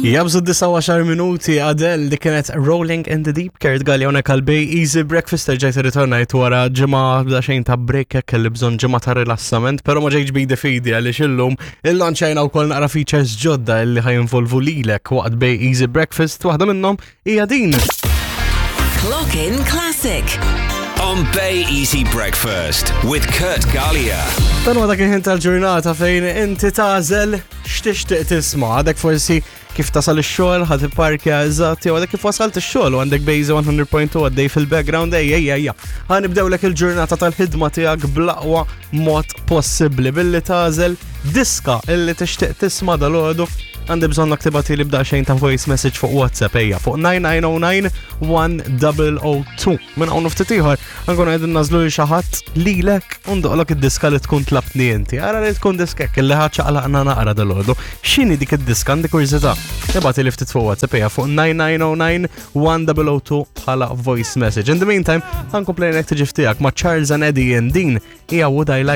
Jabżu 19 minuti Adele li kienet Rolling in the Deep Kurt Galli hawnhekk għal Bay Easy Breakfast terġajt irritornajt wara ġimgħa bda xejn ta' break hekk kelli bżonn ġimgħa ta' rilassament, però ma ġejtx bidi fidi għaliex illum illanċajna wkoll naqra features ġodda illi ħajinvolvu lilek waqt Bay Easy Breakfast waħda minnhom hija din. Clock in Classic. On Bay Easy Breakfast with Kurt Gallia. Dan huwa dak il-ħin tal-ġurnata fejn inti tagħżel x'tixtieq tisma' għadek forsi kif tasal ix-xogħol ħad ipparkja eżatt jew għadek kif wasalt ix-xogħol u għandek Bejza 100.2 għaddej fil-background ejja ejja ejja. Ħa nibdewlek il-ġurnata tal-ħidma tiegħek bl-aqwa mod possibbli billi tagħżel diska illi tixtieq tisma' dalgħodu għandi bżonnok tibgħati li b'daqsxejn ta' voice message fuq WhatsApp ejja fuq 9909 1002. Minn hawn ftit ieħor Nkun qegħdin nażlu lil xi ħadd lilek u ndoqlok id-diska li tkun tlabtni inti. Ara li tkun diskek li ħadd ċaqlaqna naqra dal-għodu. X'inhi dik id-diska għandi kurżità. Ibgħati li ftit fuq WhatsApp hija fuq 9909 1002 bħala voice message. In the meantime, ħankompli tiġi tiegħek ma' Charles and Eddie and din hija Would I Like.